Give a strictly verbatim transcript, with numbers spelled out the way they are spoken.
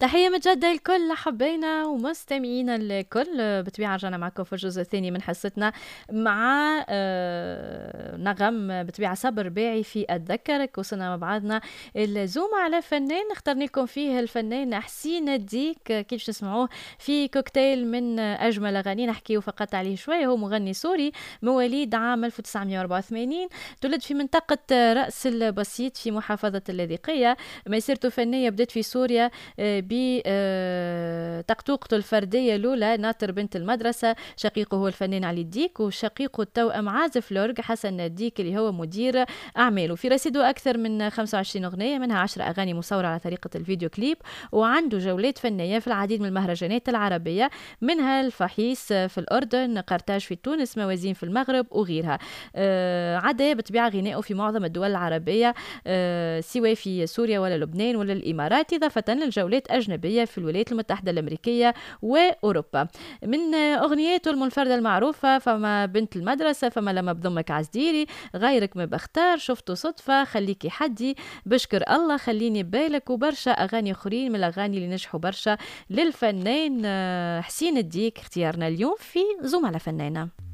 تحية متجددة لكل حبينا ومستمعينا الكل. بطبيعة رجعنا معكم في الجزء الثاني من حصتنا مع آه، نغم بطبيعة صبر باعي في أتذكرك. وصلنا مع بعضنا ال zoom على فنان اخترنا لكم فيه الفنان حسين الديك، كيف تسمعوه في كوكتيل من أجمل أغاني نحكيه فقط عليه شوية. هو مغني سوري مواليد عام ألف وتسعمية وأربعة وثمانين، تولد في منطقة رأس البسيط في محافظة اللاذقية. مسيرته الفنية بدأت في سوريا آه، بتقطوقته الفردية الأولى ناطر بنت المدرسة. شقيقه هو الفنان علي الديك، وشقيقه التوأم عازف l'orgue حسن الديك اللي هو مدير أعماله. في رصيده أكثر من خمسة وعشرين أغنية، منها عشر أغاني مصورة على طريقة الفيديو كليب، وعنده جولات فنية في العديد من المهرجانات العربية، منها الفحيص في الأردن، قرطاج في تونس، موازين في المغرب وغيرها. آه، عدا بطبيعة غنائه في معظم الدول العربية، آه، سواء في سوريا ولا لبنان ولا الإمارات، إضافة للجولات أجنبية في الولايات المتحدة الأمريكية وأوروبا. من أغنياته المنفردة المعروفة فما بنت المدرسة، فما لما بضمك عزديري، غيرك ما بختار، شفته صدفة، خليكي حدي، بشكر الله، خليني بالك، وبرشا أغاني أخرين من الأغاني اللي نجحوا برشا للفنان حسين الديك. اختيارنا اليوم في zoom على فنانة.